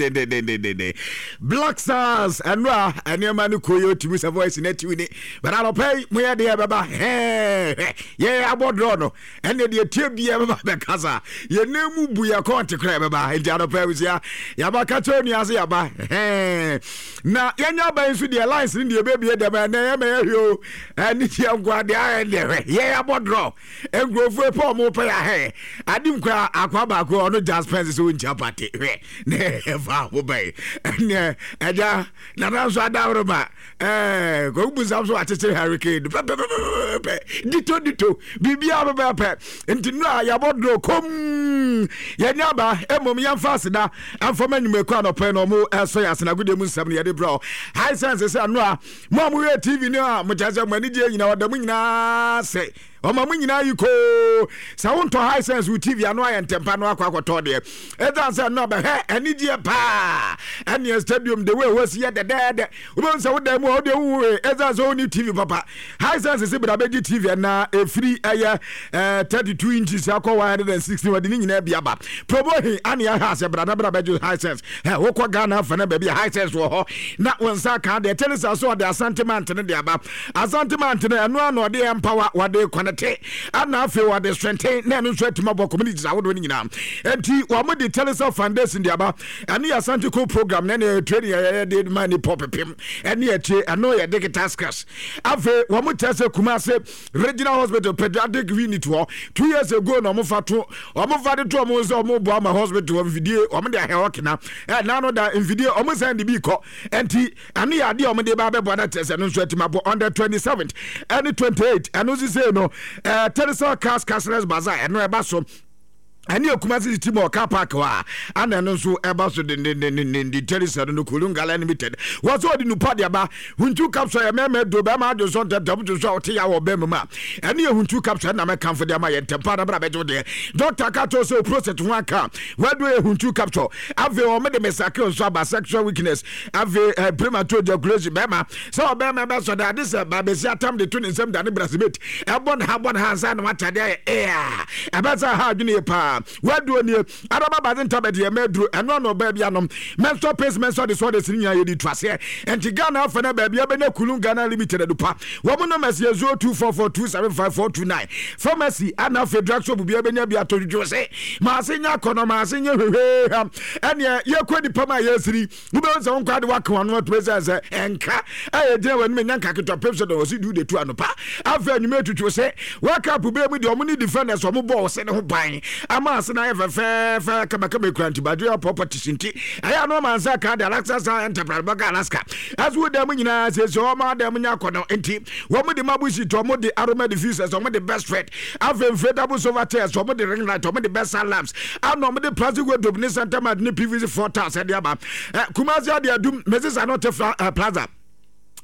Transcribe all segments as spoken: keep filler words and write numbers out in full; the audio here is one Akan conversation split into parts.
Dendendendenden. Black Stars, ɛno a nneɛma no kɔ yɛ, otumi sɛ voice no atiw ni, but anɔpɛ yi moyɛ deɛ ɛbɛba hɛɛ, yɛyɛ abɔ draw no, ɛne deɛ tie bia ɛbɛba bɛkasa, yɛn mu bu yɛ kɔnte koraa ɛbɛba. Nti anɔpɛ abusua, yɛaba ka kyerɛ onua sɛ yɛaba hɛɛ, na yɛnya aba yi nso deɛ, lines no deɛ ɛbɛbie dɛm ɛnɛ yɛmɛ yɛhwɛ o, ɛne deɛ nkoa deɛ ayɛ deɛ, hwɛ, yɛyɛ abɔ draw, nkurɔfoɔ pɛ ɔmo pɛ yɛ ahɛ adim koraa. Akwa baako ɔno Jasper sɛ ɔnkyia pate hwɛ na ɛfa ho bɛn, ɛneɛ ɛgya nana nso adaworoma ɛɛ kɔku busam so akyekyere hurricane pɛpɛpɛpɛpɛ dito dito biribiara pɛpɛpɛ. Nti nnura yɛabɔ duro kom, yɛnyɛ aba mmom, yɛmfa aseda amfama nnwumakuo anɔpɛ na ɔmo ɛsɔ yɛ asenagodeɛ mu nsɛm no yɛde brɛ Hisense sɛ nnura mo a moyɛ T V no a mokyɛ sɛ mo ani gye nyinaa, ɔda mo nyinaa sɛ ɔma mo nyinaa yi koo sɛ wontɔ Hisense wo T V ano ayɛ ntɛmpa no akɔ akɔtɔ deɛ, ɛsiane sɛ no bɛhwɛ anigyeɛ paa, ɛneɛ stadium de wei hɔ si yɛ dɛdɛɛdɛ, wobɛhu sɛ wodan mu a wode wowe, ɛsiane sɛ wonni T V papa. Hisense sɛ bra bɛgye T V ɛna ɛfiri ɛyɛ eh, thirty-two inches akɔ one hundred sixteen, wɔde ne nyinaa bi aba promo he ane ahwɛ asɛ bra na bra bɛgye Hisense. Ɛ wokɔ Ghana afa no baabi a Hisense wɔ hɔ na wo nsa ka deɛ kyɛne sa so ɔde Asante mantene de aba. Asante mantene ɛno ano ɔde ɛmpawa, wɔde kɔnɛte, ana afei wɔde strengthen na ɛno nso atumi abɔ communities ahodoɔ no nyinaa. Enti wɔn de Telecel Foundation de aba, ɛne yɛ Asante Co program na ɛne training yɛyɛ de ma nipa pepem ɛne akyire, ɛno yɛ digital skills. Afei wɔn kyerɛ sɛ Kumase Regional Hospital pediatric unit hɔ, two years ago na wɔn fa to wɔn fa de to wɔn sɛ wɔn bɔ ama hospital hɔ mfidie, wɔn de ahɛ hɔ kena ɛ nano da mfidie, wɔn sɛn de bi kɔ. Ɛnti ɛno yɛ adeɛ a wɔn de ba abɛbɔ na kyerɛ sɛ ɛno nso atumi abɔ on the twenty seventh ɛne twenty eight. Ɛno nso sei no ɛɛ Telecel Cars Cashless Bazaar, ɛno ɛba so ɛne Akumase City Mall car park hɔ a ana ɛno nso ɛba so dendendendenden. Telecel no Kulungala Limited wɔ sɛ ɔde nupa de aba, Huntu capsule yɛ mɛmɛ do bɛrima adwo nso ntɛntɛm dwo nso a ɔte ya wɔ bɛrima mu a, ɛne yɛ Huntu capsule ɛna mɛkamfo de ama yɛ ntɛmpa na bra bɛgye wo deɛ. Doctor ka kyerɛ sɛ o prostate ho aka wadu, yɛ Huntu capsule. Afei wɔn de mesakre nso aba, sexual weakness, afei eh, premature ejaculation, bɛrima sɛ ɔbɛrima bɛsɔ de ade sɛ baabɛsi atam de to ne nsam da ne brasibet ɛbɔ ne ha bɔ ne ha ansa na watadeɛ ayɛ ɛa ɛbɛsɛ ha adwene yɛ paa. Waduo nie araba bade ntabɛde yɛ mɛduro, ɛno ano ɔbaa bi anom menstrual pains, menstrual disorders ne nyinaa yɛde tu aseɛ. Ɛnti Ghana afa no baabi abɛnya Kulun Ghana Limited adupa. Wɔn numbers yɛ zero two four four two seven five four two nine. Pharmacy ana afei drug shop bi abɛnya bi atɔ dwodwo se maase nya akɔnɔ maase nyɛ hwehwee. Ɛneɛ yɛkɔ nipa ma yɛsiri, wobɛhu sɛ wo nkwa de woaka wano atumi sɛ sɛ ɛnka ɛyɛ gyina w'anim ɛnya nka ketewa pem sɛ dɔn ɔsi du de tu anopa, afei anwuma atutu sɛ waka po bɛɛ mu deɛ, ɔmo ne defenders ɔmo bɔɔ ɔse ne ho ban ama ase no ayɛ fɛfɛɛfɛ kamakama ekura ntibadwe properties. Nti ɛyɛ ano ama nsa ka de Alaska sa Enterprise bɛka Alaska ɛso wo dan mu nyinaa siesie ɔmo adan mu nya akɔnɔ. Nti wɔn de marble sheet, ɔmo de aroma diffusers, ɔmo de best red, afei inflatable sofa chairs, ɔmo de ring light, ɔmo de best lamps, ana ɔmo de plastic wardrobe ne center mat ne P V C floor tiles ɛde aba. Ɛ Kumasi ade adum Mrs Anote Fra uh, Plaza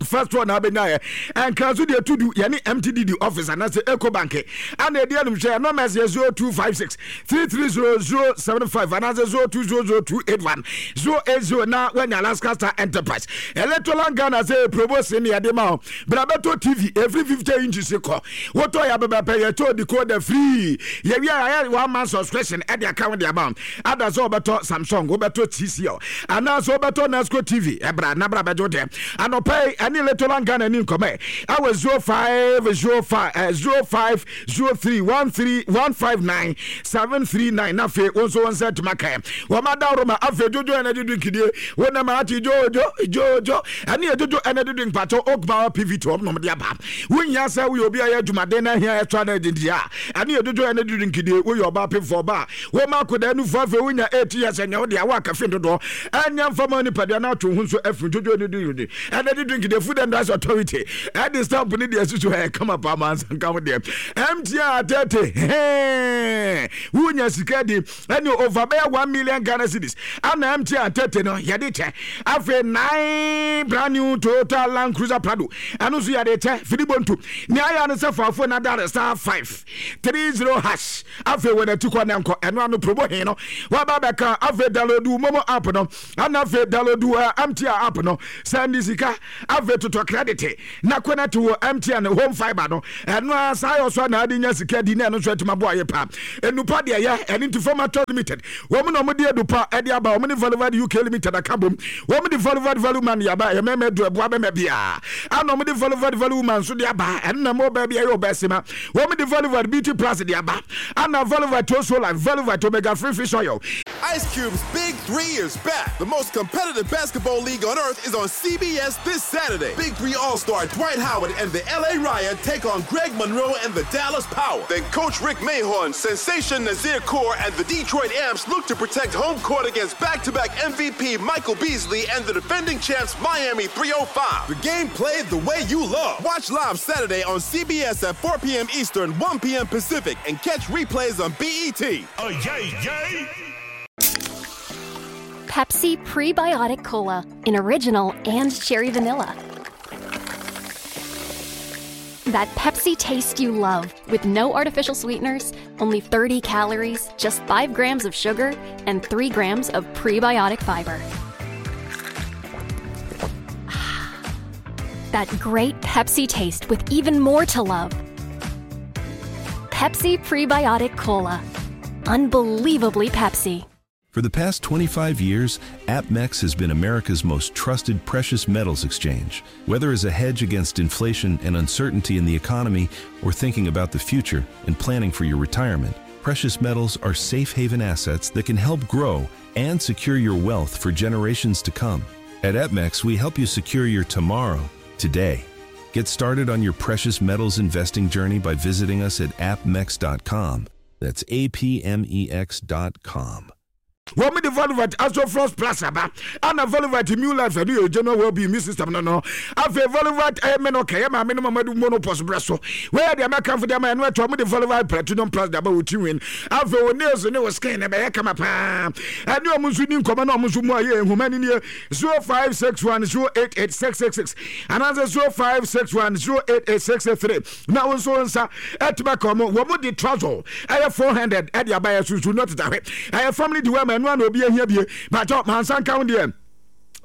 first one na abɛnya yɛ ɛnkra so deɛ tudu yɛne M T D D office anaasɛ Ecobank ana ɛdi anim hwɛ. Ɛno mɛs yɛ zero two five six three three zero zero seven five anaasɛ zero two zero zero two eight one zero eight zero na wanya Alaska Star Enterprise. Electroland Ghana sɛ promotion ne yɛde ma wo, bra bɛtɔ T V ɛfiri fifty inches kɔ, wotɔ yɛ abɛbɛpɛ yɛtɔ decoder free, yɛwie a yɛayɛ one month subscription ɛde aka ho de ama wo. Ada sɛ wobɛtɔ Samsung, wobɛtɔ T C L anaasɛ wobɛtɔ Nasco T V, ɛbra na bra bɛgye wo deɛ anɔpɛ yi. Ɛne Electroland Ghana ni nkɔmɛ ɛwɔ zero five zero five zero five zero three one three one five nine seven three nine. Na afei wo nso wo nsa atumi aka wɔn adaworo ma. Afei Jojo Energy Drink die wo nam ati jojo jojo, ɛne yɛ Jojo Energy Drink patɔ Oak Power P V T wɔn nom de aba. Wonya sɛ woyɛ obi a yɛ adwumaden na ahia extra energy deɛ a, ɛne yɛ Jojo Energy Drink die. Woyɛ ɔbaa pemfo, ɔbaa wɔn akɔda nufu, afei wonya eight years ɛnyɛ wo deɛ awɔ akafe dodoɔ ɛnyɛ mfama nipadua na atwe ho nso afiri Jojo Energy Drink. Energy drink deɛ, Food and Drugs Authority ɛde stamp ne deɛ susu ɛyɛ kama paa ma nsa nka ho deɛ. M T N atɛte hɛn wonya sika di ɛne over bɛyɛ one million Ghana cedis ana M T N atɛte no yɛde kyɛ. Afei nine brand new Toyota Land Cruiser Prado, ɛno nso yɛde kyɛ fidi bontu. Nea ayɛ no sɛ faafo na dare star five three zero hash, afei wɔn ati kɔ ne nkɔ ɛno ano promo he no waba bɛka. Afei download MoMo app no ana afei download uh, M T N app no, send sika. Afei Afei totɔ credit na connect wɔ M T N Home Fibre no. Ɛno a saa yɛ ɔso na ade nya sika di na ɛno nso atumi aboa yɛ pa. Enupa deɛ yɛ ɛne nti Fama Limited wɔn na wɔn de edupa ɛde aba. Wɔn ne Valovad U K Limited aka bom. Wɔn de Valovad Value Man yaba, ɛyɛ mɛmɛ du ɛboa bɛmɛ bia, ɛna wɔn de Valovad Value Man nso de aba. Ɛno na mo bɛɛ bi ɛyɛ ɔbɛ sima. Wɔn de Valovad Beauty Plus de aba, ɛna Valovad Toso Life, Valovad Omega Free Fish Oil. Ice Cube's Big Three is back. The most competitive basketball league on earth is on C B S this Saturday. Big Three All Star Dwight Howard and the L A Riot take on Greg Monroe and the Dallas Power. Then Coach Rick Mahorn, Sensation Nazir Kaur, and the Detroit Amps look to protect home court against back to back M V P Michael Beasley and the defending champs Miami three oh five. The game played the way you love. Watch live Saturday on C B S at four p m. Eastern, one p m. Pacific, and catch replays on B E T. Oh, yay, yay! Pepsi Prebiotic Cola in original and cherry vanilla. That Pepsi taste you love with no artificial sweeteners, only thirty calories, just five grams of sugar, and three grams of prebiotic fiber. That great Pepsi taste with even more to love. Pepsi Prebiotic Cola. Unbelievably Pepsi. For the past twenty-five years, APMEX has been America's most trusted precious metals exchange. Whether as a hedge against inflation and uncertainty in the economy or thinking about the future and planning for your retirement, precious metals are safe haven assets that can help grow and secure your wealth for generations to come. At APMEX, we help you secure your tomorrow today. Get started on your precious metals investing journey by visiting us at A P M E X dot com. That's A P M E X dot com. Wɔn de Volovat Asoflos Plus aba, ana Volovat New Life, ɛno yɛ general well-being immune system no no Afei Volovat ɛyɛ mɛ no kɛyɛ maame no mamadu menopause brɛ so. Wɔyɛ deɛ mɛkamfo deɛ ma ɛno ɛtɔ. Wɔn de Volovat Platinum Plus de aba wɔ tiwin. Afei wɔ nails ne wɔ skin ne bɛyɛ kama paa. Ɛne wɔn nso ni nkɔmɔ na wɔn nso mu ayɛ ehuma ni nie: zero five six one zero eight eight six six six anaasɛ zero five six one zero eight eight six eight three. Na wɔn nso nsa ɛtuma ka wɔn. Wɔn de Trazol ɛyɛ four hundred ɛde aba yɛ sunsun no teta hwɛ, ɛyɛ family di wɛma ɛno ana obi ahia bie bàtɔ mansa nka ho deɛ.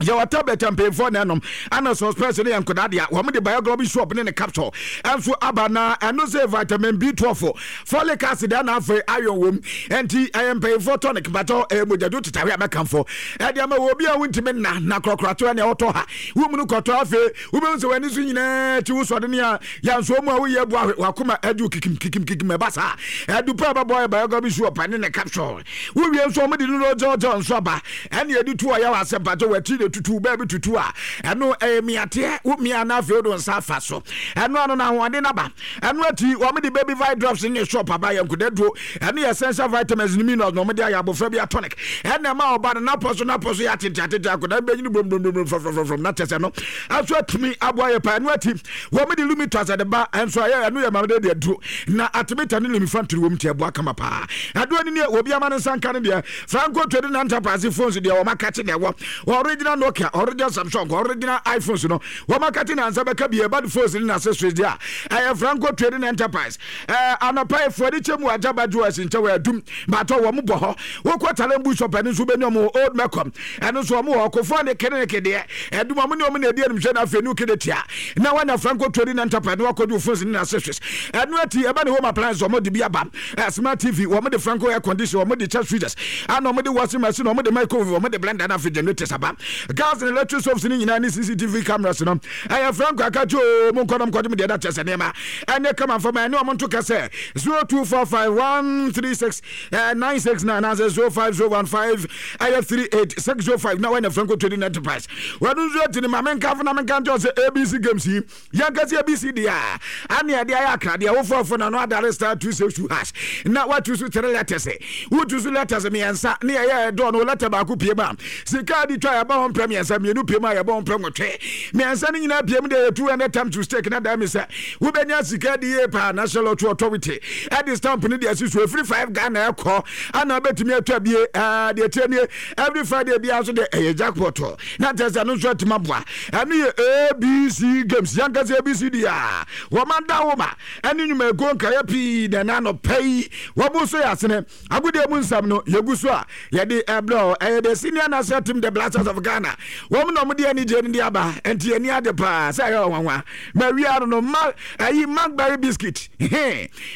Yɛwɔ tablet mpanyinfoɔ na ɛnom, ana suspense ne yɛ nkɔdaa deɛ. Wɔn de Bioglobi Soap ne ne capsule ɛnso aba, na ɛno sɛ vitamin B twelve, folic acid, ɛna afei iron wom, ɛnti ɛyɛ mpanyinfoɔ tonic. Batɔ ɛyɛ mogyado tetawe a mɛkamfo ɛde ama wɔ obi a wontumi nna na korɔkorɔto ɛne ɛwɔtɔ ha womu no kɔtɔ. Afei wobɛhu sɛ w'ani so nyinaa ti wo sɔde ne a yɛnsoɔ mu a woyɛ abu ahwe wakoma adu kikim kikim kikim. Ɛba saa ɛdu pa ɛbɛbɔ yɛ Bioglobi Soap ne ne capsule. Wowie nso ɔmo de no gyɔgyɔ nso aba, ɛne yɛde tu ɔyɛ wɔ asɛ mpatɔ wɔakyi de tutu baabi tutu a ɛno ɛyɛ miateɛ wo mia na afei wode wo nsa afa so. Ɛno ano no ahoɔden naba. Ɛno akyi wɔn de Baby Vi Drops ne shop aba, yɛ nkudaduro. Ɛno yɛ essential vitamins ne minerals na wɔn de ayɛ abɔfra bi atonic. Ɛna ɛma ɔba no napɔ so napɔ so yɛ atete atete akɔda bɛnyini brombrombrombromfrɔmfrɔm na kyɛ sɛ no aso atumi aboa yɛ pa. Ɛno akyi wɔn de Lumitas ɛde ba ɛnso ayɛ, ɛno yɛ maame de aduro na atemita ne lumifantiri wɔm ti ɛboa kama paa. Aduane ni obi ama ne nsa nka no deɛ. Franco Trading Enterprise phones deɛ wɔn akakye na ɛwɔ original Nokia, original Samsung, original iPhones no wɔn akakye na nsa bɛka bi. Ɛba de phones ne na accessories deɛ a ɛyɛ Franco Trading Enterprise. Ɛɛ anɔpa efuo de kyɛ mu agyaba jewels nkyɛn wɔ Adum baatɔ wɔn bɔ hɔ. Wokɔ Talembu Shop, ɛno nso bɛnya wɔn. Old Mecom, ɛno nso wɔn wɔ Kofoɔ ne clinic deɛ Ɛdum wɔn ne wɔn na edi animhwɛ. Na afei nu kede tia na wanya Franco Trading Enterprise na wakɔgye phones ne na accessories. Ɛno akyi ɛba ne home appliance, wɔn de bi aba, ɛ smart T V, wɔn de Franco air condition, wɔn de chest freezers, ana wɔn de washing machine, wɔn de microwave, wɔn de blender, na afei generators aba. Gas and electric stoves ne nyinaa ne C C T V cameras no ɛyɛ Franco akakye o. Mu nkɔdɔm kɔdɔm deɛ ɛda kyɛ sɛ nneɛma ɛnyɛ kama fama. Ɛne wɔn nto kɛsɛ zero two four five one three six nine six nine anaasɛ zero five zero one five ɛyɛ three eight six zero five na wɔnyɛ Franco Trading Enterprise. Wɔn nso akyi ne maame nkafo na menka nkyɛn sɛ A B C games yi yɛnkasi A B C deɛ a ane ɛde ayɛ akradeɛ wofoɔfo na no adare star two six two hash na watu so three letters, wotu so letters mmiɛnsa ne yɛyɛ ɛdɔɔ no letter baako pie mu a sika de twa yɛbɔ ho mpɛ mmiɛnsa, mmienu pie mu a yɛbɔ ho mpɛ nwɔtwe, mmiɛnsa no nyinaa pie mu deɛ yɛ two hundred times to stake na daa mi sɛ wobɛnya sika de yie paa. National Lottery Authority ɛde stamp no de asi so. Ɛfiri five Ghana ɛkɔ ana wobɛtumi atwa bie. Ɛɛ deɛ tie nie, every Friday biara nso deɛ ɛyɛ jackpot na kyerɛ sɛ ɛno nso atumi aboa. Ɛno yɛ A B C games yankasa A B C deɛ a wɔma da wo ma ɛne nnwumakuo nkaeɛ pii na ɛna anɔpa yi wɔbo so yɛ asene agodeɛ mu nsɛm no yɛgu so a yɛde ɛbrɛ. Ɛyɛ the senior national team, the Black Stars of Ghana. Ghana wɔn na wɔn de anigye no de aba, nti ani ade paa sɛ ɛyɛ ɔnwanwa ma wia no no ma ayi Macberry biscuit,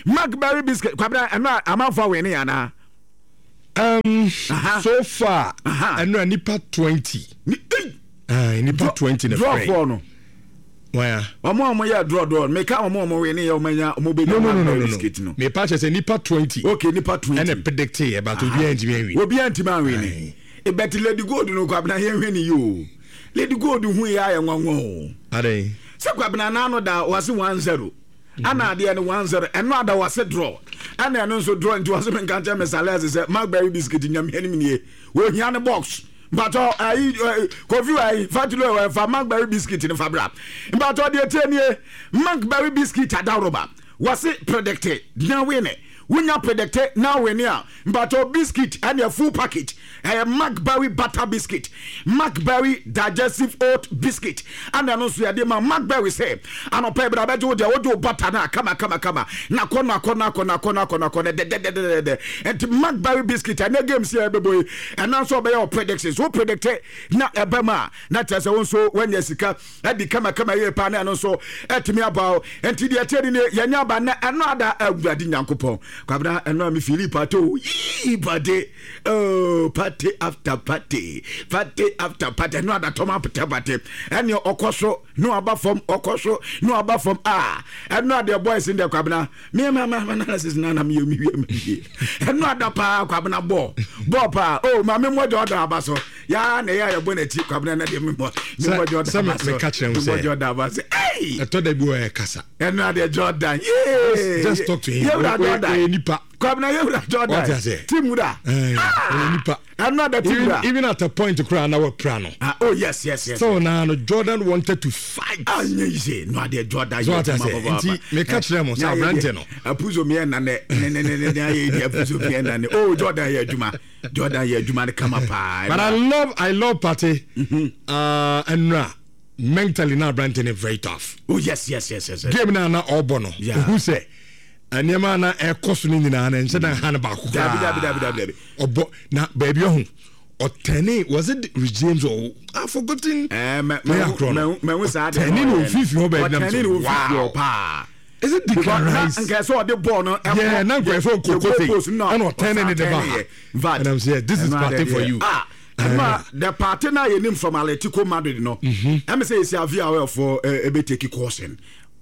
Macberry biscuit. Kwabena, ɛno a amanfo awɛ ne yana. Um, so far ɛno a nipa twenty. Nipa twenty na frɛ. Draw no. Waya. Ɔmo a ɔmo yɛ draw draw meka ɔmo a ɔmo wɛ ne yɛ ɔmo anya ɔmo bɛ nya Macberry biscuit no. Me pa kyerɛ sɛ nipa twenty. Okay, nipa twenty. Ɛna predict yɛ, but obiara ntumi anwi. Obiara ntumi anwi ne. Ebɛti Lady Gold no, Kwabena, yɛn hwɛ ne yi o. Lady Gold hu yɛ ayɛ nwanwa o. Adan. Sɛ Kwabena n'ano da wase one zero. Ana adeɛ no one zero, ɛno ada wase draw. Ɛna ɛno nso draw, nti wase mi nka nkyɛn Mister Les sɛ Macberry biscuit nyamia ni mi nie. Ohia ne box. Mpatɔ ayi Kofi ayi Fatilo ɛfa Macberry biscuit ne fa bra. Mpatɔ deɛ tie nie, Macberry biscuit adaworoba. Wase predict na win. Wonya predict na win a, mpatɔ biscuit ɛne full package. Ɛyɛ Macberry butter biscuit, Macberry digestive oat biscuit. Ɛna ɛno nso yɛde ma Macberry sɛ anɔpɛ bi na bɛgye wo deɛ wode wo butter no a kama kama kama na akɔnɔ akɔnɔ akɔnɔ akɔnɔ akɔnɔ akɔnɔ dɛdɛdɛdɛdɛ. Nti Macberry biscuit ɛnɛ games yɛ ɛbɛbɔ yi, ɛna nso ɔbɛyɛ wo predictions, wo predict na ɛbɛ mu a, na kyerɛ sɛ wo nso woanya sika ɛdi kama kama yie paa, na ɛno nso ɛtumi aba wo. Nti deɛ ɛteɛ ni yɛnyɛ aba na ɛno ada. Awurade Nyankopɔn, Kwabena, ɛno a me fili party o, yii party oh, party after party, party after party. Ɛno ada tɔm apɛtɛ party, ɛne ɔkɔ so na ɔba fam, ɔkɔ so na ɔba fam a, ɛno adeɛ boys n deɛ Kwabena, me ma ma analysis na na meyɛ me wie me wie. Ɛno ada paa, Kwabena, bɔɔ bɔɔ paa o. Maame mmɔ Jordan aba so yaa na ɛyɛ a yɛbɔ n'akyi. Kwabena, na deɛ me mmɔ me mmɔ Jordan aba so, me mmɔ Jordan aba so ɛy. Ɛtɔ da bi wɔ yɛ kasa. Ɛno adeɛ Jordan yee. Just talk to him. Yɛwura Jordan nipa. Kwabena, yɛwura Jordan team wura. Nipa. Ɛno ada team wura. Even at a point kura na wɔ pra no. Ah, oh yes yes yes. So na no Jordan wanted to fight. Ah, nye yi se no adeɛ Jordan yɛ kuma baba. Nti meka kyerɛ mo sɛ aberante no. Apuzo miɛ na ne ne ne ne ne ne ayɛ di apuzo miɛ na ne oh, Jordan yɛ adwuma, Jordan yɛ adwuma ne kama paa. But I love I love Partey. Ɛnura mentally na aberante ne very tough. Oh yes yes yes yes. Game na na ɔbɔ no. Ohu sɛ nneɛma na ɛkɔ so no nyinaa na nhyɛ dan ha no baako koraa. Dabi dabi dabi dabi. Ɔbɔ na baabi ɔho ɔtɛne, was it Rich James or I forgotten? Ɛɛ mɛ mɛ mɛ mɛ saa de. Ɔtɛne na ofifiri hɔ baabi nam so, wow paa. Is it Declan Rice? Nka sɛ ɔde bɔɔl no. Yeah, na nka sɛ ɔkoko se ɛna ɔtɛne ne de ba. And I'm saying this is Partey for you. Ah, ɛma the Partey na yɛ nim from Atletico Madrid no. Ɛmi sɛ esi avi a ɔyɛ ebe take caution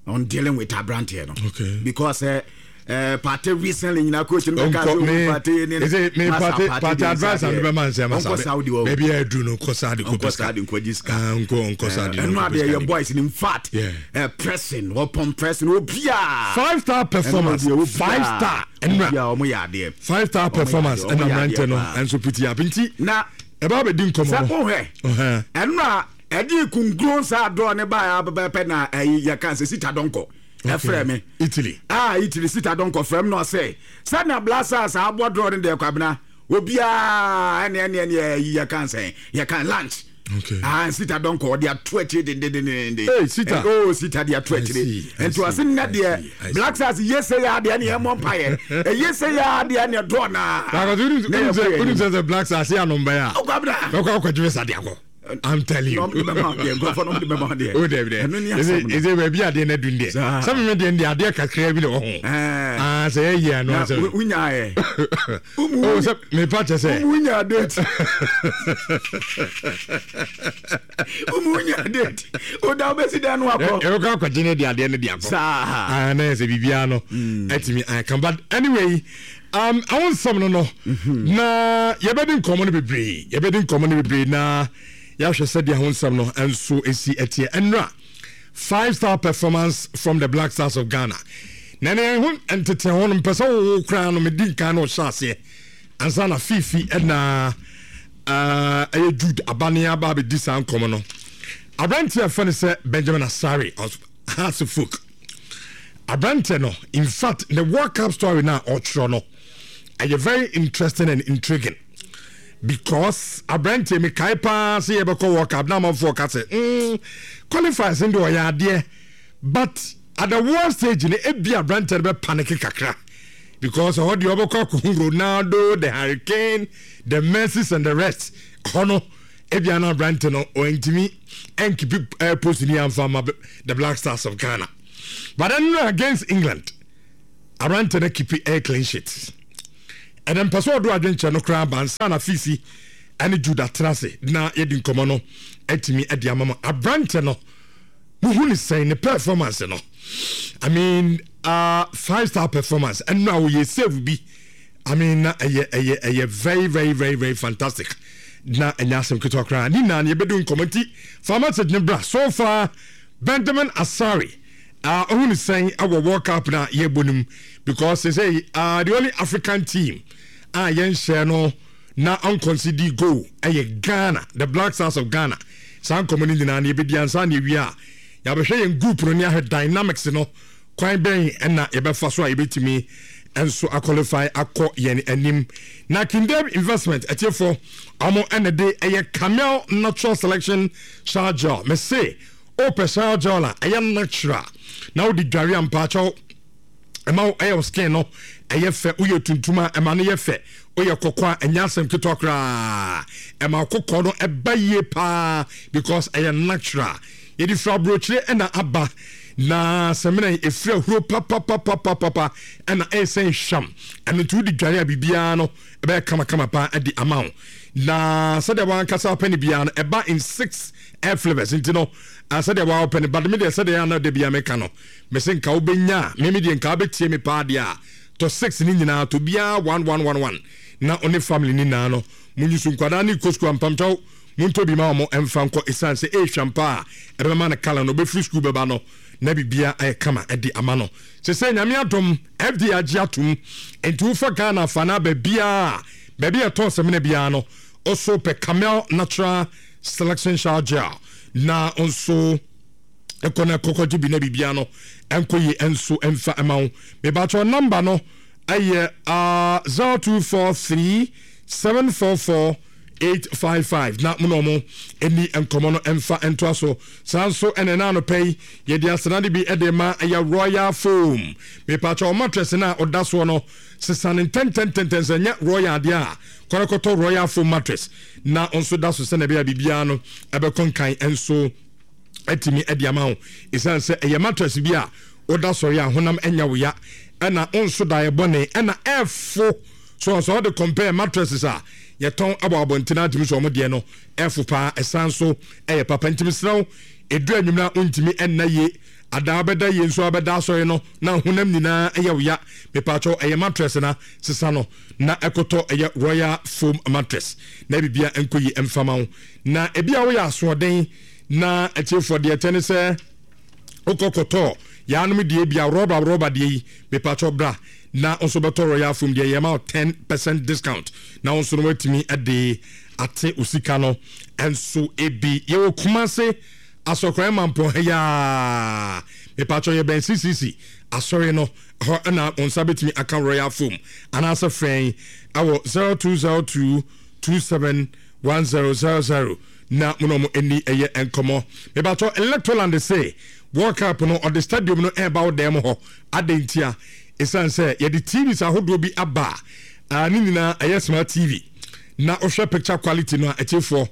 on dealing with aberanteɛ no. Okay. Because uh, uh, Partey recently nyina coach no bɛka sɛ ɔmu Partey ne me Partey Partey advice and bɛma nsɛm asa. Ɔnkɔ Saudi wɔ. Baabi a aduru no, nkɔ Saudi kɔ. Ɔnkɔ Saudi nkɔ sika. Nkɔ nkɔ Saudi. Ɛno adeɛ yɛ boys in fact uh, pressing, wɔpɔn pressing obiaa. Five star performance, five star. Ɛnura ɔmo yɛ adeɛ. Five star performance ɛna mmerante no ɛnso piti up, nti na ɛbaa bɛ di nkɔmɔ no sɛ wohwɛ ɛno a ɛde kunkun saa dɔɔ ne baa bɛpɛ na ɛyi yɛ kan sɛ Sita Dɔnkɔ ɛfrɛ me. Italy. Ah, Italy Sita Dɔnkɔ frɛ me na ɔsɛ sɛnea Black Stars abɔ dɔɔ no deɛ, Kwabena, obiara ɛne ɛne ɛne ɛyi yɛ kan sɛn yɛ kan lunch. Okay. Ah, Sita Dɔnkɔ ɔde ato akyire dendendenden. Hey, Sita. Oh, Sita de ato akyire, nti ɔse nnɛ deɛ Black Stars yie sɛ yɛ adeɛ ne yɛ mmɔ mpaeɛ ɛyie sɛ yɛ adeɛ ne dɔɔ naa. Wonu sɛ sɛ Black Stars yɛ anomba yi a ɔkɔ abena bɛkɔ akɔgye visa de akɔ. I'm telling you. O dɛbi dɛ. Ɛsɛ baabi adeɛ na dun deɛ. Sɛ mímɛ deɛ deɛ adeɛ kakra bi na wɔ ho. Aa, sɛ yɛ yie ano asɛ. Wunya yɛ. O sɛ mepa kyɛ sɛ. Wunya date. Wunya date. O da o bɛ si dan no akɔ. Ɛwɔ kɔ akɔgye ne de adeɛ ne de akɔ. Saa. Aa, na yɛ sɛ biribiara no. Ɛtumi aka, but anyway. Um, awo nsɛm no no na yɛbɛdi nkɔmmɔ no bebree, yɛbɛdi nkɔmmɔ no bebree na yɛahwɛ sɛdeɛ ho nsɛm no nso ɛsi ɛteɛ. Ɛnora five star performance from the Black Stars of Ghana na ne ho ntete ho no, mpɛ sɛ wowo koraa no medi nkan na ɔhyɛ aseɛ ansa na Fifi ɛna ɛyɛ Jude abane aba abɛdi saa nkɔmmɔ no. Aberanteɛ a ɛfɛ no sɛ Benjamin Asare of Hearts of Oak, aberanteɛ no, in fact the World Cup story na ɔtwerɛ no ɛyɛ very interesting and intriguing, because aberanteɛ mi kae paa sɛ yɛbɛkɔ World Cup na amanfoɔ ka sɛ mm, qualifiers no deɛ ɔyɛ adeɛ, but at the world stage no ebi aberanteɛ no bɛ panic kakra, because ɛhɔ deɛ ɔbɛkɔ akɔhu Ronaldo, the Hurricane, the Messi and the rest. Hɔ no Ebia na aberante no ɔntumi ɛnkeep uh, post ni amfa ma the Black Stars of Ghana, but then against England, aberante no keep a clean sheet. Ɛnɛ mpɛ sɛ ɔdo adwenkyerɛ no koraa bansa na Fifi ɛne Judah tena ase na yɛdi nkɔmmɔ no atumi de ama ma aberante no. Muhu ne sɛn ne performance no? I mean, uh, five star performance. Ɛno a wɔyɛ save bi, I mean, na ɛyɛ ɛyɛ ɛyɛ very very very very fantastic na ɛnyɛ asɛm ketewa koraa. Ne nyinaa no yɛbɛdi nkɔmmɔ, nti fa message ne bra. So far, Benjamin Asare, uh, ɔhu ne sɛn ɛwɔ World Cup na yɛbɔ no mu? Because they say uh, the only African team a yɛnhyɛ no na unconceded goal ɛyɛ Ghana, the Black Stars of Ghana. Saa nkɔmmɔ no nyinaa no yɛbɛdi ansa na yɛwie a yɛabɛhwɛ yɛn group no ne ahwɛ dynamics no, kwan bɛn ɛna yɛbɛfa so a yɛbɛtumi nso aqualify akɔ yɛn anim. Na Kindem Investment atiefoɔ, ɔmo ɛna de ɛyɛ Camel Natural Selection Shower Gel. Mese wopɛ shower gel a ɛyɛ natural na wode dware a, mpaakyɛw, ɛma wo ɛyɛ wo skin no ɛyɛ fɛ. Woyɛ tuntum a, ɛma no yɛ fɛ. Woyɛ kɔkɔɔ a, ɛnyɛ asɛm ketewa koraa, ɛma kɔkɔɔ no ɛba yie paa because ɛyɛ natural. Yɛde firi aburokyire ɛna aba na sɛmina yi efiri ahuro papapapapapa ɛna ɛyɛ sɛ nhwam. Ɛno nti wode dware a, biribiara no ɛbɛyɛ kamakama paa ɛde ama wo. Na sɛdeɛ wankasa apɛ no biara no, ɛba in six air flavors, nti no sɛdeɛ wawopɛ no. But me deɛ, sɛdeɛ ana da bia meka no, mese nka wobɛnya a, meme deɛ nka wobɛtie me paa deɛ a, tɔ six ne nyinaa, tɔ biara one one one one na ɔne family ne nyinaa no munyi so. Nkwadaa ne kɔ sukuu ampamkyɛw, montɔ bi ma wɔn ɛmfa nkɔ, ɛsiane sɛ ɛɛhwam paa a ɛbɛma no kala no ɔbɛfiri sukuu bɛba no na biribia ayɛ kama ɛde ama no. Sɛ sɛ Nyame adom, F D A agye atom, nti wofa Ghana fa no aba biaa, baabi a ɛtɔn sɛmina biara no, ɔso pɛ Camel Natural Selection Shower Gel na nso ɛkɔ na ɛkɔkɔgye bi na biribia no ɛnkɔ yie ɛnso ɛmfa ɛma wo. Mebakyɛw, number no ɛyɛ uh, zero two four three seven four four eight five five na mo na ɔmo ɛni nkɔmɔ no ɛmfa ɛntoa so. Saa nso ɛna ɛna anɔpɛ yi yɛde asenade bi ɛde ma ɛyɛ Royal Foam. Mepakyɛw, mattress no a ɔda soɔ no, sesane ntɛntɛntɛntɛn. Sɛ nyɛ Royal adeɛ a, kɔrɔkɔtɔ Royal Foam mattress na nso da so sɛnɛ ɛbɛyɛ biribiara no ɛbɛkɔ nkan ɛnso ɛtumi ɛde ama wo, ɛsiane sɛ ɛyɛ mattress bi a woda sɔre a honam ɛnya wo ya ɛna nso da ɛbɔne ɛna ɛfo so. Sɛ ɔde compare mattresses a yɛtɔn abɔ abɔnten atumi so, ɔmo deɛ no ɛfo paa, ɛsan so ɛyɛ papa. Ntumi serɛw edu anwumna ntumi ɛnna yie adaa bɛda yie nso abɛda asɔre no na honam nyinaa ɛyɛ wo ya. Mepatwɛ, ɛyɛ mattress na sesa no na ɛkɔtɔ ɛyɛ Royal Foam mattress na bibia nkɔ yi ɛmfama wo. Na ebi a woyɛ asoɔden na atiefoɔ deɛ ɛtɛ ne sɛ wokɔ kɔtɔ yaanom deɛ bia rɔba rɔba deɛ yi, mepatwɛ, bra na nso bɛtɔ Royal Foam deɛ, yɛma wo ten percent discount na wo nso no watumi de ate wo sika no nso ebi. Yɛwɔ Kumase Asɔkran Mampɔn ha yaa. Mepatwɛ, yɛbɛn C C C asɔre no hɔ ɛna wo nsa bɛtumi aka Royal Foam, anaasɛ frɛn ɛwɔ zero two zero two two seven one zero zero zero na mo na ɔmo ani ɛyɛ nkɔmɔ. Mebatɔ Electroland se World Cup no, ɔde stadium no ɛreba wo dan mu hɔ. Adɛn ntia? Ɛsiane sɛ yɛde T Vs ahodoɔ bi aba a ne nyinaa ɛyɛ smart T V na wohwɛ picture quality no a, ɛkyefoɔ,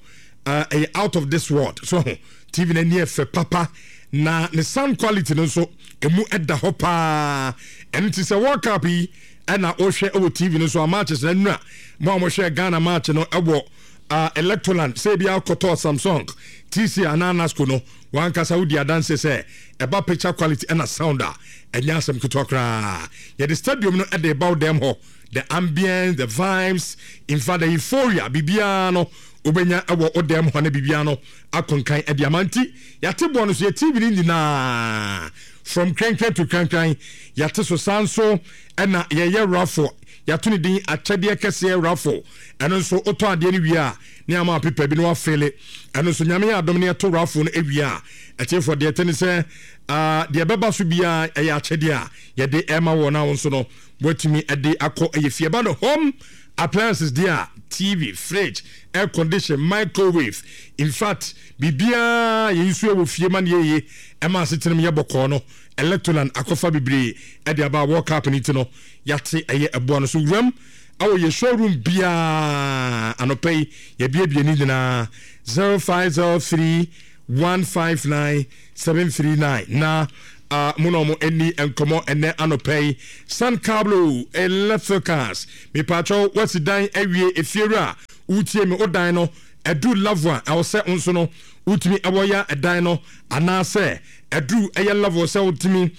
ɛyɛ out of this world. So ho T V no ani ɛfɛ papa na ne sound quality no nso emu ɛda hɔ paa. Ɛno nti sɛ World Cup yi ɛna wohwɛ ɛwɔ T V no so a, matches na nnura mo a mohwɛ Ghana match no ɛwɔ uh, Electroland, sɛ ebi akɔtɔ Samsung, T C anaa Nasco no, wankasa wodi adanse sɛ ɛba picture quality ɛna sound a, ɛnyɛ asɛm ketewa koraa. Yɛde stadium no ɛde ba wo dɛm hɔ, the ambience, the vibes, in fact the euphoria, biribiara no wobɛnya ɛwɔ wo dɛm hɔ ne biribiara no akonkan ɛde ama. Nti yɛate boɔ no so, yɛ T V no nyinaa from krankran to krankran yɛate so. Saa nso ɛna yɛyɛ raffle, yɛato ne din Akyɛdeɛ Kɛseɛ Raffle. Ɛno nso wotɔ adeɛ no wie a, ne ama pepa bi no wafele. Ɛno nso Nyame yɛ adom ne yɛto raffle no awie a, ɛkyɛfoɔ deɛ ɛtɛ ne sɛ deɛ ɛbɛba so biara ɛyɛ akyɛdeɛ a yɛde ɛma wɔ no a wo nso no watumi ɛde akɔ ɛyɛ fie. Ɛba no home appliances deɛ a, T V, fridge, air condition, microwave, in fact biribiara yɛyi so wɔ fie ma no yɛyie ɛma asetenam yɛ bɔkɔɔ no, Electroland akɔfa bebree ɛde aba. World Cup no ti no, yɛate ɛyɛ ɛboa no so wuram. Ɛwɔ yɛ showroom biara anɔpa yi yɛbiebie ne nyinaa zero five zero three one five nine seven three nine na uh, mo na ɔmo ani nkɔmɔ ɛnɛ anɔpa yi. San Cablo Electricals, mepatwɛw, wasi dan awie, efiewura wotie mi, o dan no ɛduru level a ɛwɔ sɛ nso no wotumi ɛwɔ ya ɛdan no, anaasɛ ɛduru ɛyɛ level sɛ wotumi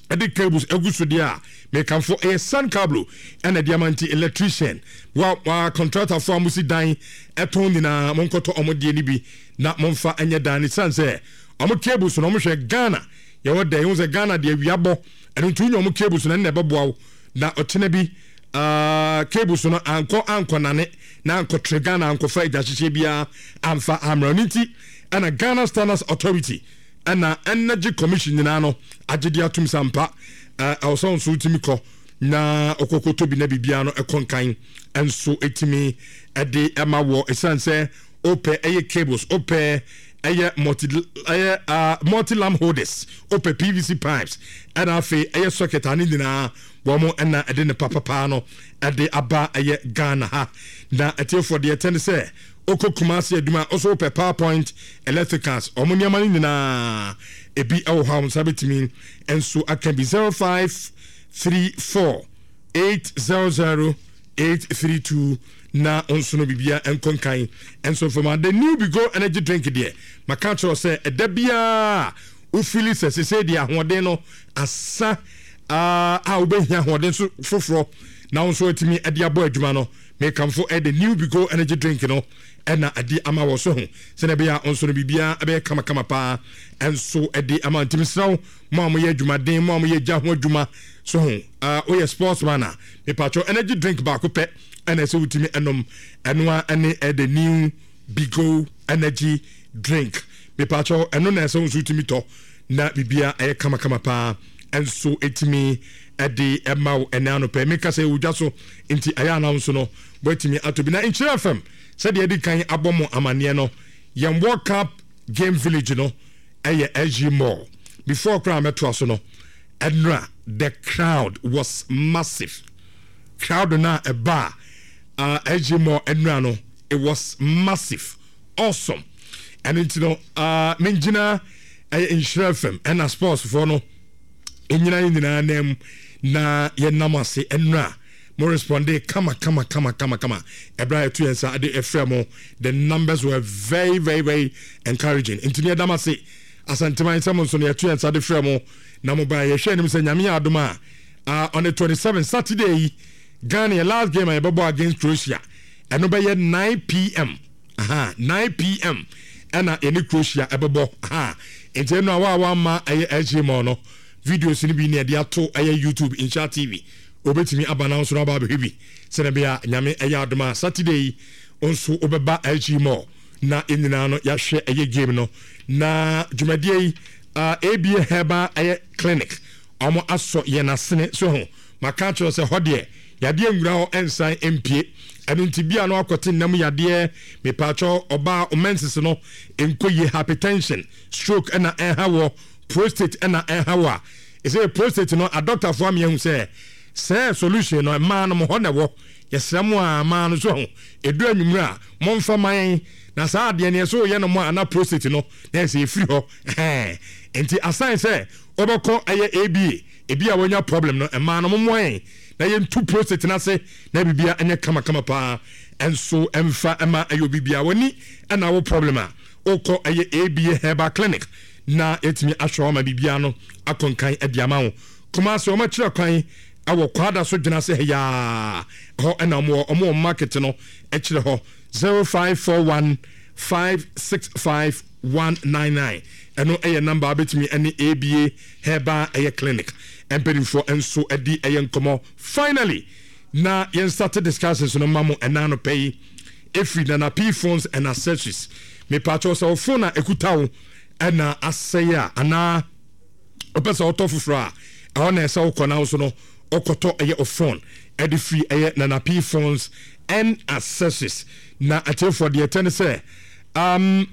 ɛde cables egu so deɛ a, mekamfo ɛyɛ San Cablo ɛna ɛde ama. Nti electrician wa wa contractor fo a mo si dan ɛtɔn nyinaa, mo nkɔtɔ ɔmo deɛ no bi na mo nfa ɛnyɛ dan ne san sɛ ɔmo cables no, ɔmo hwɛ Ghana yɛwɔ dɛ ɛho sɛ Ghana deɛ awia bɔ ɛno nti wonya ɔmo cables no, ɛna ɛbɛboa wo na ɔkyena bi uh, cables no ankɔ ankɔ nane na ankɔtere Ghana, ankɔfa agya hyehyɛ biara amfa amra no. Nti ɛna Ghana Standards Authority ɛna Energy Commission nyinaa no agye de atum sa mpa ɛwɔ sɛ nso wotumi kɔ na ɔkɔkɔtɔ bi na biribiara no ɛkɔ nkan nso ɛtumi ɛde ɛma wɔ. Ɛsiane sɛ wopɛ ɛyɛ cables, wopɛ ɛyɛ multi ɛyɛ uh, multi lamp holders, wopɛ P V C pipes, ɛna afei ɛyɛ socket ane nyinaa, wɔn ɛna ɛde ne papapaa no ɛde aba ɛyɛ Ghana ha. Na ɛtiefoɔ deɛ ɛtɛ ne sɛ okɔ Kumasi adwuma ɔso wopɛ PowerPoint Electricals, ɔmo nneɛma no nyinaa ebi ɛwɔ hɔ a wɔn nsa bɛtumi nso aka bi. zero five three four eight zero zero eight three two na nso no bibia nkɔ nkan nso fam. The New Bigo Energy Drink deɛ, maka kyerɛw sɛ ɛda biara wofili sɛ sese deɛ ahoɔden no asa a, wobɛhia ahoɔden so foforɔ na wo nso atumi de abɔ adwuma no, mekamfo ɛde New Bigo Energy Drink no ɛna ɛde ama wɔ so ho sɛdeɛ ɛbɛyɛ a nso no biribiara ɛbɛyɛ kamakama paa ɛnso ɛde ama. Ntimi serɛ wo, mo a moyɛ adwumaden, mo a moyɛ gya ho adwuma so ho, woyɛ sportsman a, mepatwɛ, energy drink baako pɛ ɛna ɛsɛ wotumi ɛnom, ɛno a ɛne ɛde New Bigo Energy Drink. Mepatwɛ, ɛno na ɛsɛ wo nso wotumi tɔ na biribiara ɛyɛ kamakama paa ɛnso ɛtumi ɛde ɛma wo. Ɛnɛ anɔpɛ meka sɛ ɛwɔ dwa so, nti ɛyɛ anam nso no wɔatumi atɔ bi. Na Nkyerɛ F M, sɛdeɛ ɛdi kan abɔ mo amanneɛ no, yɛn World Cup Game Village no ɛyɛ S G Mall. Before koraa mɛtoa so no, ɛnora the crowd was massive. Crowd no a ɛba a uh, S G Mall ɛnora no, it was massive, awesome. Ɛno nti no uh, mengyina ɛyɛ Nhyira F M ɛna sports foɔ no ɛnyina yɛ nyinaa nam na yɛnam ase. Ɛnora mo responde kama kama kama kama kama. Ɛberɛ a yɛto yɛn nsa de ɛfrɛ mo, the numbers were very very very encouraging. Nti ne yɛdam ase Asanteman sɛ mo nso no yɛto yɛn nsa de frɛ mo na mo baa. Yɛhwɛ anim sɛ Nyame yɛ adom a, uh, on the twenty-seven Saturday yi, Ghana yɛ last game a yɛbɛbɔ against Croatia, ɛno bɛyɛ nine p m. Aha, nine p m ɛna yɛne Croatia ɛbɛbɔ. Aha, nti ɛno a wa a wama ɛyɛ S G Mall no, videos no bi ne yɛde ato ɛyɛ YouTube Nhyira T V, obetumi aba na nso no aba abɛhwɛ bi sɛnɛ bɛyɛ a Nyame ɛyɛ adom a Saturday yi nso wobɛba S G Mall na yɛn nyinaa no yɛahwɛ ɛyɛ game no. Na dwumadie yi, uh, A B A Herbal ɛyɛ Clinic, ɔmo asɔ yɛn asene so ho. Maka kyerɛ sɛ hɔ deɛ yadeɛ nwura hɔ ɛnsan mpie. Ɛno nti bia no akɔte nnam yadeɛ, mepaakyɛw, ɔbaa menses no nkɔ yie, hypertension, stroke ɛna ɛha wɔ, prostate ɛna ɛha wɔ a, ɛsɛ prostate no adɔktafoɔ ameahu sɛ sɛ solution no mmaa no mo hɔ na ɛwɔ. Yɛsrɛ mo a mmaa no so ho ɛdu anwummerɛ a, momfa ma yɛn na saa adeɛ no yɛsɛ woyɛ no mo a ana prostate no na ɛsɛ ɛfiri hɔ. Ɛhɛn, nti asan sɛ wobɛkɔ ɛyɛ A B A ebi a wɔnya problem no, mmaa no mommoa yɛn na yɛntu prostate no ase na biribia ɛnyɛ kamakama paa. Ɛnso ɛmfa ɛma ɛyɛ obi bia w'ani ɛna wo problem a, wokɔ ɛyɛ A B A Herbal Clinic na yɛtumi ahwɛ wo ama biribia no akɔnkan ɛde ama wo. Kumase, wɔn akyerɛ kwan ɛwɔ Kwada so dwena sɛ yaa hɔ ɛna ɔmo wɔ ɔmo wɔ market no ɛkyerɛ hɔ. zero five four one five six five one nine nine, ɛno ɛyɛ number abɛtumi ɛne A B A Herbal ɛyɛ Clinic mpanimfoɔ nso ɛdi ɛyɛ nkɔmɔ. Finally, na yɛn start discussions no ma mo ɛna anɔpɛ yi efiri Nana P Phones and Accessories. Mepatwɛ sɛ wo phone a ekuta wo ɛna asɛe a, anaa wopɛ sɛ wotɔ foforɔ a, ɛhɔ na ɛsɛ wokɔ na so no ɔkɔtɔ ɛyɛ o phone ɛde firi ɛyɛ Nana P Phones and Accessories. Na atiefoɔ deɛ ɛtɛ ne sɛ um,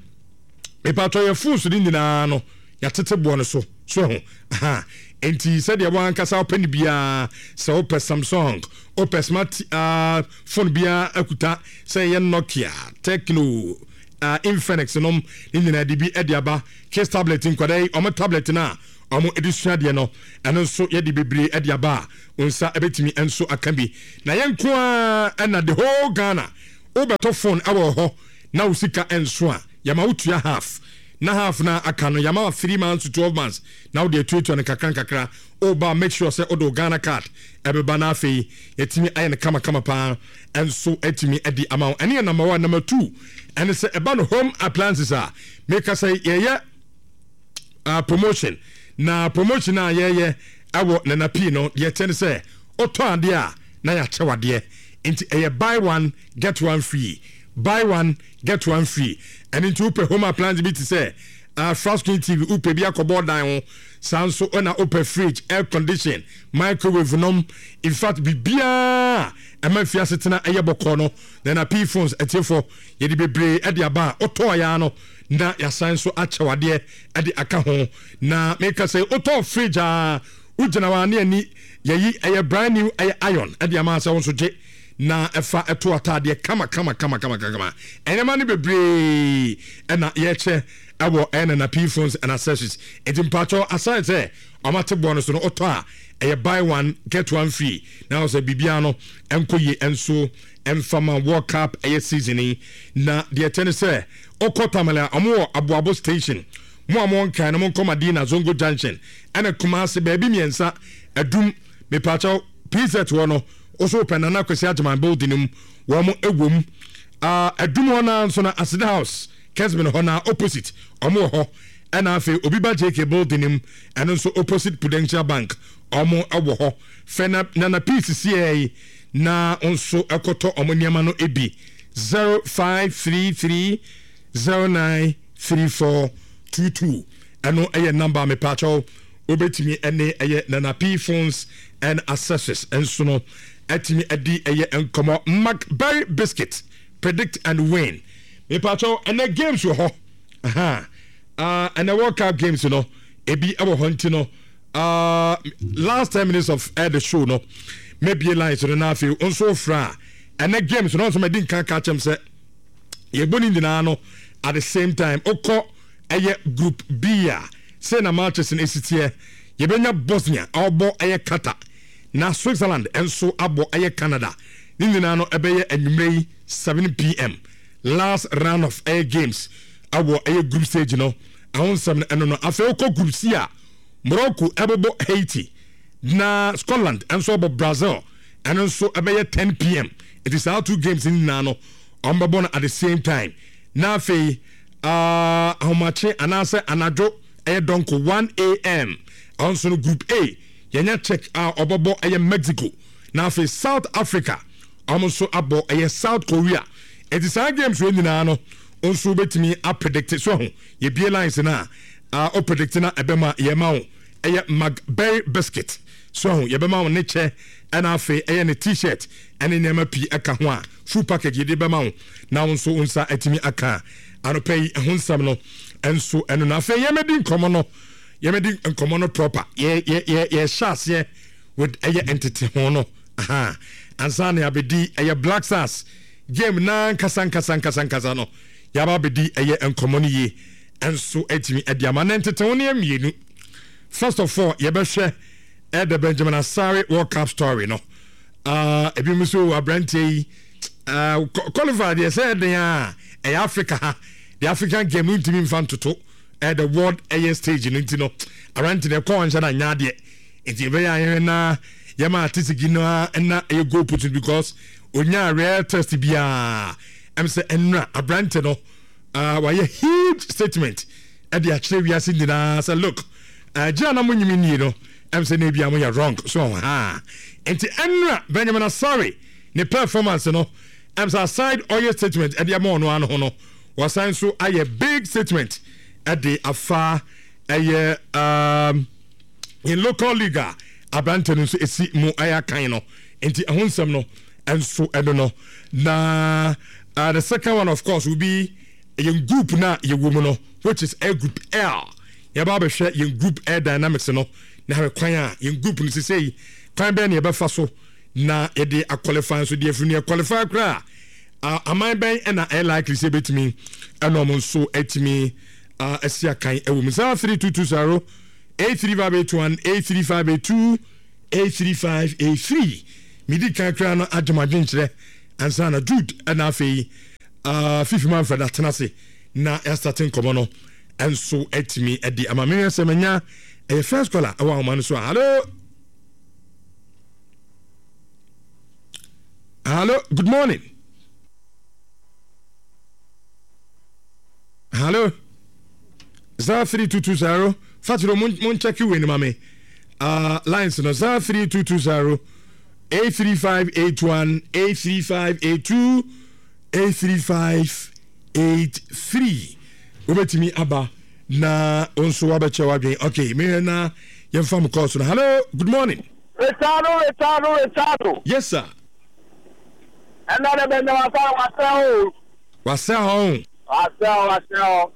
mepatwɛ yɛ phones no nyinaa no Yɛatete boɔ no so so ho aha. Nti sɛdeɛ wɔankasa wopɛ no biara, sɛ wopɛ Samsung, wopɛ smart uh, phone biara akuta, sɛ ɛyɛ Nokia, Tecno, uh, Infinix nom ne nyinaa de bi de aba. Case tablet, nkwadaa yi ɔmo tablet no a ɔmo de sua adeɛ no, ɛno nso yɛde bebree de aba a wo nsa bɛtumi nso aka bi. Na yɛn nko ara ɛna the whole Ghana, wobɛtɔ phone ɛwɔ hɔ na wo sika nso a, yɛma wotua half, na half na aka no yɛma three months to twelve months na wode atuatua no kakra nkakra. Woba, make sure sɛ wode wo Ghana Card ɛbɛba, na afei yɛtumi ayɛ no kamakama paa ɛnso atumi adi ama wo. Ɛne yɛ number one. Number two ɛne sɛ ɛba no home appliances a meka sɛ yɛyɛ uh, promotion, na promotion a yɛyɛ ɛwɔ Nana Pii no deɛ kyɛ ne sɛ wotɔ adeɛ a na yɛakyɛ wadeɛ. Nti ɛyɛ buy one get one free, buy one get one free. Ɛno nti wopɛ home appliance bi te sɛ uh, flat screen T V, wopɛ bi akɔbɔ dan ho saa nso, ɛna wopɛ fridge, air condition, microwave nom, in fact biribiaa ɛma mfiase tena ɛyɛ bɔkɔɔ no, Nana P Phones atiefo, yɛde bebree ɛde aba a wotɔɔ ya no na yɛasan nso akyɛ wadeɛ ɛde aka ho. Na meka sɛ wotɔɔ fridge a, wogyina hɔ a ne ani yɛyi ɛyɛ brand new ɛyɛ iron ɛde ama sɛ wo nso gye na ɛfa ɛto ataadeɛ kama kama kama kama kama. Ɛnɛma no bebree ɛna yɛkyɛ ɛwɔ ɛyɛ Nana P Phones and Accessories. Nti mpatsɔ, aside sɛ ɔmo boɔ no so no, ɔtɔ a ɛyɛ buy one get one free, na ɔsɛ biribiara no ɛnkɔ yie ɛnso ɛmfama World Cup ɛyɛ season yi. Na deɛ ɛkyɛ ne sɛ ɔkɔ Tamale a, ɔmo wɔ Aboabo Station. Mo a mo nkan no, mo nkɔ Madina Zongo Junction, ɛna Kumase baabi mmiɛnsa, Adum mipakyɛw P Z wɔ no, ɔso pɛ Nana Kwesi Agyeman building mu, wɔn ɛwɔ mu. Adum hɔ naa nso na Aseda House Kesben hɔ na opposite ɔmo wɔ hɔ. Ɛna afei obi ba J K building mu, ɛno nso opposite Prudential Bank, ɔmo ɛwɔ hɔ. Fɛ na Nana Peace sie yi na nso ɛkɔtɔ ɔmo nneɛma no ebi. zero five three three zero nine three four two two, ɛno ɛyɛ number mepaakyɛw wobɛtumi ɛne ɛyɛ Nana P Phones and Accessories nso no ɛtumi ɛdi ɛyɛ nkɔmɔ. McBerry biscuit, predict and win. Mepaakyɛw, ɛnɛ games wɔ hɔ aha. uh, ɛnɛ World Cup games no ebi ɛwɔ hɔ, nti no uh, last ten minutes of uh, the show no, mebie lines no na afei nso fra a ɛnɛ games no nso mɛdi nkan ka kyɛm sɛ yɛbɔ ne nyinaa no at the same time. Wokɔ ɛyɛ Group B a, sɛ na matches no esi teɛ, yɛbɛnya Bosnia a ɔbɔ ɛyɛ Qatar, na Switzerland nso abɔ ɛyɛ Canada. Ne nyinaa no ɛbɛyɛ anwummerɛ yi seven p m, last round of ɛyɛ games ɛwɔ ɛyɛ group stage no. Ɛho nsɛm no ɛno no. Afei wokɔ Group C a, Morocco ɛbɛbɔ Haiti, na Scotland nso abɔ Brazil. Ɛno nso ɛbɛyɛ ten p m. Ɛti saa two games no nyinaa no, ɔmo bɛbɔ no at the same time. Na afei uh, ahomakye anaasɛ anadwo ɛyɛ dɔnko one a m, ɛno nso no Group A, yɛnya Czech a ɔbɛbɔ ɛyɛ Mexico, na afei South Africa ɔmo nso abɔ ɛyɛ South Korea. Ɛti saa games wɔ nyinaa no nso wobɛtumi apredict so ho. Yɛbie lines no a, uh, wopredict na ɛbɛma yɛma wo ɛyɛ McBerry biscuit so ho, yɛbɛma wo ne kyɛ, ɛna afei ɛyɛ ne T-shirt ɛne nneɛma pii ɛka ho a full package yɛde bɛma wo na wo nso wo nsa atumi aka. Anɔpɛ yi ɛho nsɛm no ɛnso ɛno. Na afei yɛmɛdi nkɔmmɔ no, yɛmɛdi nkɔmmɔ no proper. yɛ yɛ yɛ yɛhyɛ aseɛ with ɛyɛ ntete ho no aha ansa na yɛabɛdi ɛyɛ Black Stars game na nkasa nkasa nkasa nkasa no, yɛaba abɛdi ɛyɛ nkɔmmɔ no yie ɛnso atumi ɛde ama. Na ntete ho no yɛ mmienu. First of all, yɛbɛhwɛ ɛda Benjamin Asare World Cup story no. uh, ebi mu nso aberanteɛ yi uh, qualify deɛ sɛ ɛden a ɛyɛ Africa ha, the African game no ntumi nfa ntoto ɛyɛ the world ɛyɛ stage no. Nti no aberante no ɛkɔɔ nhyɛ na nya adeɛ, nti ɛbɛyɛ ayɛhwɛ na yɛma atesigi no na ɛyɛ goal put because onya rare test biara. Ɛm sɛ ɛnura aberante no uh, wayɛ huge statement ɛde akyerɛ wiase nyinaa sɛ look, uh, gye a na mo nyimi nie no, ɛm sɛ na ebia mo yɛ wrong so ha. Nti ɛnura Benjamin Asare ne performance no, ɛm sɛ aside ɔyɛ statement ɛde ama ɔno ano ho no, wɔsan so ayɛ big statement ɛde afa ɛyɛ um, in local league a aberante no nso esi mu ɛyɛ akan no. Nti ɛho nsɛm no ɛnso ɛno no. Na uh, the second one, of course, will be yɛn group na yɛwɔ mu no, which is a Group L. Yɛba abɛhwɛ yɛn group air dynamics no na hwɛ kwan a yɛn group no sesei kwan bɛn na yɛbɛfa so na yɛde aqualify nso deɛ afiri no yɛ qualify koraa a aman bɛn ɛna ɛyɛ likely sɛ ɛbɛtumi ɛna ɔmo nso atumi asi akan ɛwɔ mu zero three two two zero eight three five eight one eight three five eight two eight three five eight three medi kan koraa no agye mo adwenkyerɛ ansa na Jude ɛna afei uh, Fifi Manfred atena ase na yɛastate nkɔmmɔ no ɛnso atumi adi ama mehwɛ sɛ manya ɛyɛ first caller ɛwɔ ahoma no so a hello hello good morning hello zero three two two zero fatiro mo mo nkyɛke wei no ma me uh, lines no zero three two two zero eight three five eight one eight three five eight two eight three five eight three wobɛtumi aba na wo nso wabɛkyɛ w'adwene okay mehwɛ na yɛmfa mo kɔɔ so no hello good morning Richardo, Richardo, Richardo. yes sir Ɛnna de Benjamin Asare wasɛ o. wasɛ hɔ Wasɛ o, wasɛ o.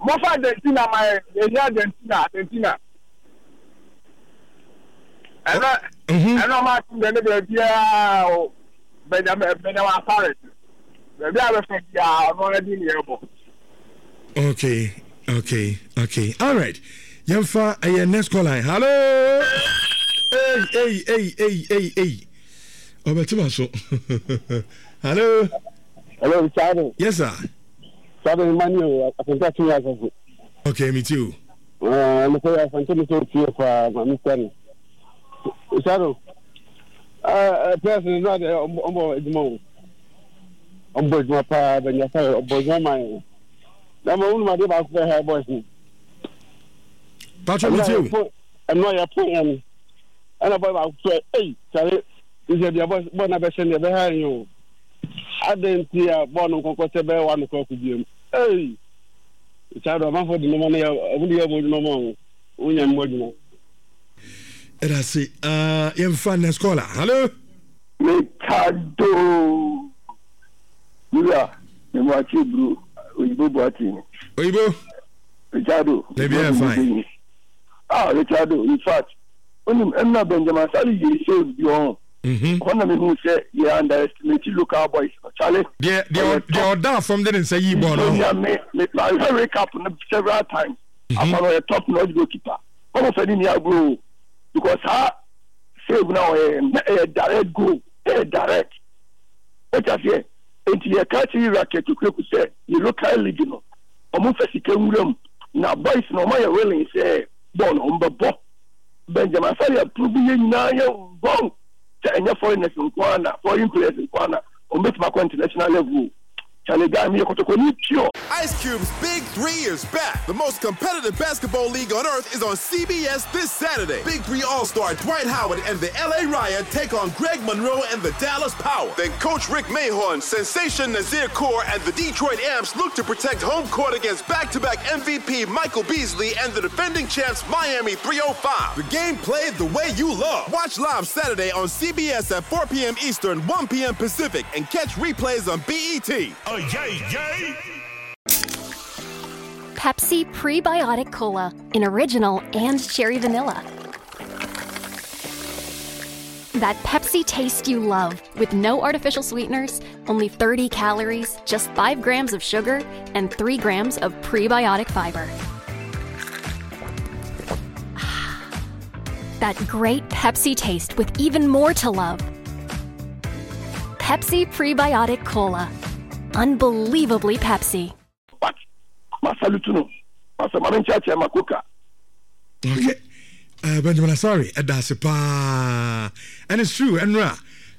Mofa Argentina ma yɛ, yɛhia Argentina, Argentina. Ɛnna Mhm. ɛnna ɔmo atum dɛ ne baabiara o Benjamin Benjamin Asare. Baabi a bɛfɛ biara ɔno ara di ne yɛ bɔ. okay okay okay all right yɛmfa ɛyɛ next call line hello hey hey hey hey hey hey ɔbɛtema so hello Hello, Richardo. yes sir Richardo Emmanuel, Asante Atumi Asafo. okay me too Ɛɛ, mekɔ Asante mi sɛ otie paa, ma mi sɛ no. Richardo, ɛɛ players no na de ɔmbɔ adwuma o. Ɔmbɔ adwuma paa, Benjamin Asare ɔbɔ adwuma ma yɛn. Na ma wunum adeɛ baako pɛ ha boys no. patro me too Ɛno a yɛpon yɛn no. Ɛna boy baako sɛ, ei, kyale, nsɛ bia boys bɔɔl na bɛhyɛ no yɛbɛha yɛn o. Adɛn nti a bɔɔl no nkɔnkɔ sɛ bɛyɛ wa no kɔ akɔ biam. Ei, Richardo, amanfoɔ de nneɛma no yɛ ɔmo de yɛ ɔmo adwuma ma o. Wonya mo adwuma. ɛda se uh, yɛmfa next caller hello Richardo. Wura, Mewakye bro, Oyibo Boateng. oyibo Richardo. Maybe I'm fine. Ah, Richardo, in fact, onim ɛnna Benjamin Asare yɛ save bi ɔn. Mhm. Hɔ na mehu sɛ yɛ underestimate local boys. Charlie. deɛ deɛ deɛ ɔda fam de ne nsa yii bɔɔl no ho Yeah, me, me, I heard recap no several times. Mm-hmm. Afa no ɔyɛ top notch goalkeeper. Ɔmo fɛ ne ni agorɔ o. Because ha save na ɔyɛ na ɛyɛ direct goal. Ɛyɛ direct. O ta seɛ. Nti yɛ ka kyerɛ Racket Okureku sɛ yɛ local league no. Ɔmo fɛ sika nwura mu. Na boys na ɔmo ayɛ willing sɛ bɔɔl no ɔmo bɛ bɔ. Benjamin Asare approve yɛ nyinaa yɛ wrong. Sɛ ɛnyɛ foreigners nko ara na foreign players nko ara na ɔmo bɛtumi akɔ international level o. Charlie guy mi yɛ kɔtɔkɔni pure. Ice Cube's Big Three is back. The most competitive basketball league on earth is on C B S this Saturday. Big Three All-Star Dwight Howard and the L A Riot take on Greg Monroe and the Dallas Power. Then Coach Rick Mahorn, Sensation Nazir Kaur, and the Detroit Amps look to protect home court against back-to-back M V P Michael Beasley and the defending champs Miami three oh five. The game played the way you love. Watch live Saturday on C B S at four p m Eastern, one p m Pacific, and catch replays on B E T. Oh, yay, yay! Pepsi Prebiotic Cola in original and cherry vanilla. That Pepsi taste you love with no artificial sweeteners, only thirty calories, just five grams of sugar, and three grams of prebiotic fiber. That great Pepsi taste with even more to love. Pepsi Prebiotic Cola. Unbelievably Pepsi. But, Masalutuno, Masamarincha Makoka. Okay. Uh, Benjamin Asare, that's pa. And it's true, Enra,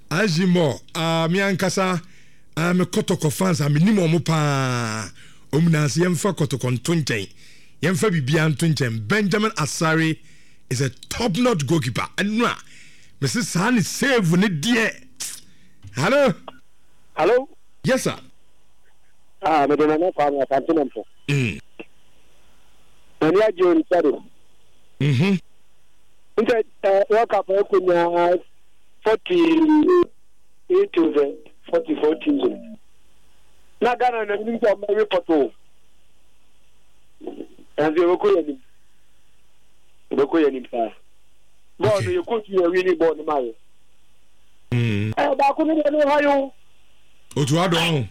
Ajimo, uh, Miankasa, I'm a Kotoko fans, I'm Nimo Mupa, Omnas, Yemfa Kotokon Tunchen, Yemfa Bibian Tunchen. Benjamin Asare is a top notch goalkeeper. Enra, Missus Sani save when it dear. Hello? Hello? Yes, sir. Ah, but I'm not farming. I'm Mm. Mm-hmm. World Cup forty-eight to forty-four teams. Now Ghana na mi report o. And they were calling. Yɛbɛkɔ yɛ anim paa. Bɔɔl no yɛ coach yɛ wini bɔɔl no ma yɛ. Ɛɛ baako no deɛ no ha yi o. Otu adɔ ho.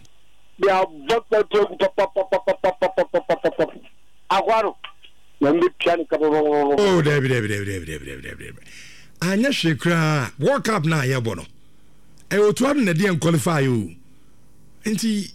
De abɔ pɛpɛ gu papapapapapapapapapa. Akwa no. Na mbɛ tua ne ka papapapapa. Oh, dabi dabi dabi dabi dabi dabi dabi dabi. Anyɛ hwee koraa. World Cup na yɛbɔ no. Ɛyɛ otu adɔ na ɛde yɛn qualify o. Nti